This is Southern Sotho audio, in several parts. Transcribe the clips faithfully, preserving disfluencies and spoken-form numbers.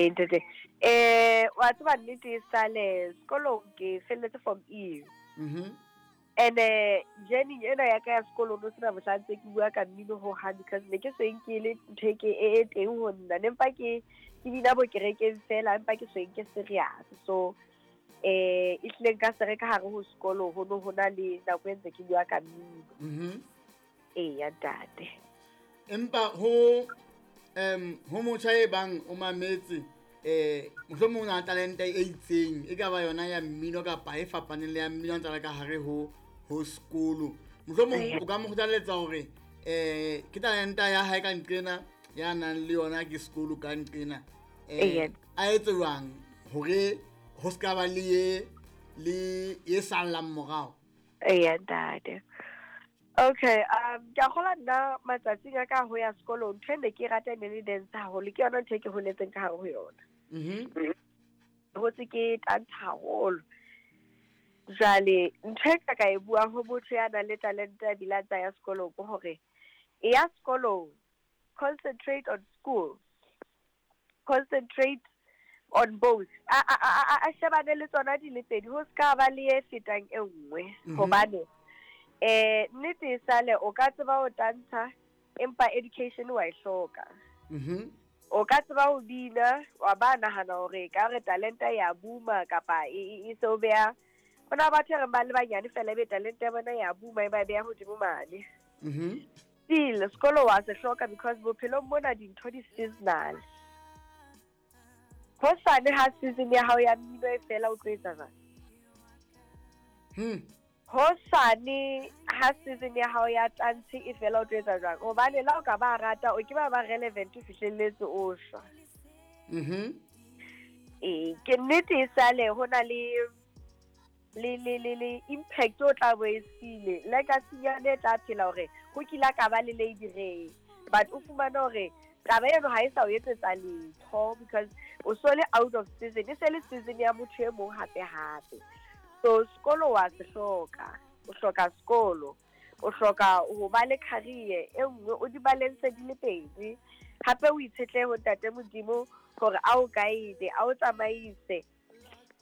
Ntate, eh wa tseba nnete e sale sekolong ke felletse form E. Mhm. And eh journey ena ya ka ya sekolong no sena mohla ntse ke bua ka mmino ho hang, because ne ke seng ke le ntho e ke e e teng ho nna, ne mpa ke ke bina bo kerekeng fela, empa ke seng ke serious. So eh e hlile nka se re ka hare ho sekolo ho no ho na le nako e ntse ke bua ka mmino. Mhm. Eya ntate. Empa ho em ho motjha e bang o mametse, eh mohlomong o na le talente e itseng, e ka ba yona ya mmino kapa e fapaneng le ya mmino, a ntse a le ka hare ho ho sekolo, mohlomong o ka mo kgothaletsa hore eh ke talenta ya hae ka nqena ya nang le yona ke sekolo ka nqena, eh Eya. a etse jwang hore ho ska ba le ye le ye sallang morao? Eya ntate. Okay, um ke a kgolwa nna matsatsing a ka ho ya sekolong, ntho e ne ke e rata e ne le dance haholo, ke yona ntho e ke holetseng ka hare ho yona. Mhm. Hotse ke tantsha haholo. Jwale ntho e ka ka e buang ho motho ya nang le talente a bile a ntsa ya sekolong ke hore e ya sekolong, concentrate on school, concentrate on both. A, a, a, a, a shebane le tsona di le pedi, ho ska ba le e fetang e nngwe. Mhm. Hobane eh nnete e sale o ka tseba ho tantsha, empa education wa e hloka. Mhm. O ka tseba ho bina, wa ba nahana hore ka re talenta ya booma kapa e, e, e se o beha. Ho na batho e reng ba le banyane fela ebe talente ya bona ya booma e ba beha hodimo mane. Mhm. Still sekolo wa se hloka, because bophelong mona dintho di seasonal. Hosane ha season ya hao ya mmino e fela, o tlo etsa jwang? Hmm. Hosane ha season ya hao ya tantshe e fela, o tlo etsa jwang? Hobane la o ka ba rata, o ke ba ba relevant o fihlelletse o shwa. Mhm. Ee, ke nnete e sale ho na le le le le le impact o tla bo e siile, legacy-nyana e tla phela hore ho kila ka ba le Lady Ray, but o fumane hore taba eno ha e sa o etsetsa letho, because o so le out of season, e se le season ya motho e mong hape hape. So sekolo wa se hloka, o hloka sekolo, o hloka ho ba le career e nngwe, o di balance di le pedi. Hape o itshetlehe ho ntate Modimo hore a o guide, a o tsamaise,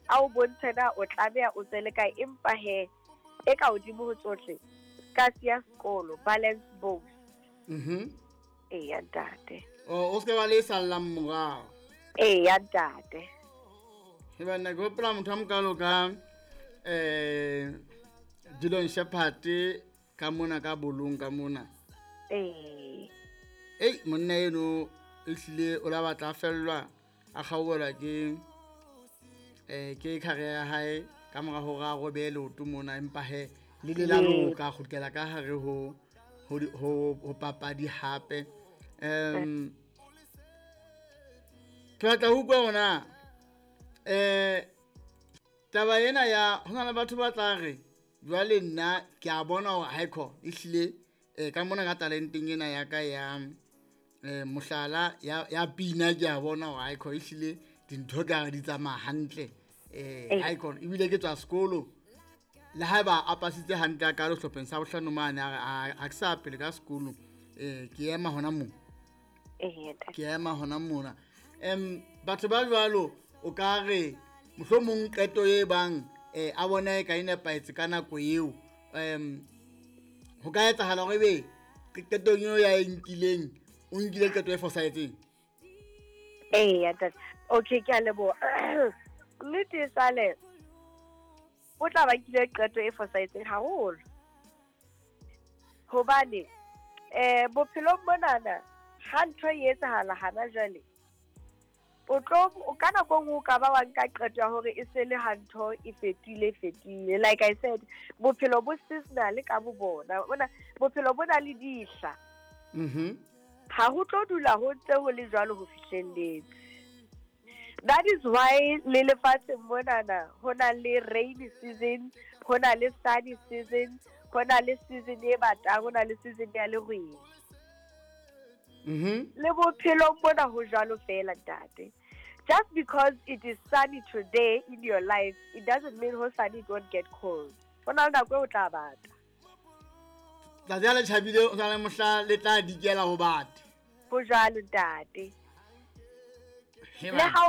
a o bontshe na o tlameha o tswele kae, empa he e ka hodimo ho tsohle ka siya sekolo, balance both. Mhm. Eya ntate. O o ska ba le sallang morao. Eya ntate. He banna, ke hopola motho a mokalo ka eh Dillon Sheppard ka mona ka bolong ka mona. Ee. Ei, monna eno ehlile o la batla a fellwa, a kgaohelwa ke eh ke career ya hae ka mora hore a robehe leoto mona, empa he le le la loka, a kgutlela ka hare ho ho ho ho papadi hape. Em ke batla ho utlwa hona eh taba ena ya ho na le batho ba tla re jwale nna ke a bona hore haekho ehlile eh ka mona ka talenteng ena ya ka ya eh mohlala ya ya pina, ke a bona hore haekho ehlile dintho ka re di tsamaya hantle, eh Ee. haekho ebile ke tswa sekolo, le haeba a pasitse hantle a ka sehlopheng sa bohlano mane, a re, a ha ke sa pele ka sekolo, eh ke ema hona moo. Ee, ntate. Ke ema hona mona. Em batho ba jwalo o ka re mohlomong qeto e bang eh a bona e ka e nepahetse ka nako eo, em ho ka etsahala hore ebe qetong eo ya e nkileng, o nkile qeto e fosahetseng? Eya ntate. Okay, ke a leboha. Nnete e sale o tla ba nkile qeto e fosahetseng haholo. Hobane eh bophelong monana ha ntho e etsahala hana jwale, o tlo o ka nako e nngwe o ka ba wa nka qeto ya hore e se le ha ntho e fetohile, e fetohile. Like I said, bophelo bo seasonal ka bo bona. Bona bophelo bo na le dihla. Mhm. Ha ho tlo dula ho ntse ho le jwalo ho fihlelletse. That is why le lefatsheng monana ho na le rainy season, ho na le sunny season, ho na le season e batang, ho na le season ya lerwele. Mhm. Le bophelong mona ho jwalo fela ntate. Just because it is sunny today in your life, it doesn't mean hosane it won't get cold. Ho na le nako e o tla bata. Tsatsi ha le tjhabile, o sa le mohla le tla dikela ho bata. Ho jwalo ntate. Le ha o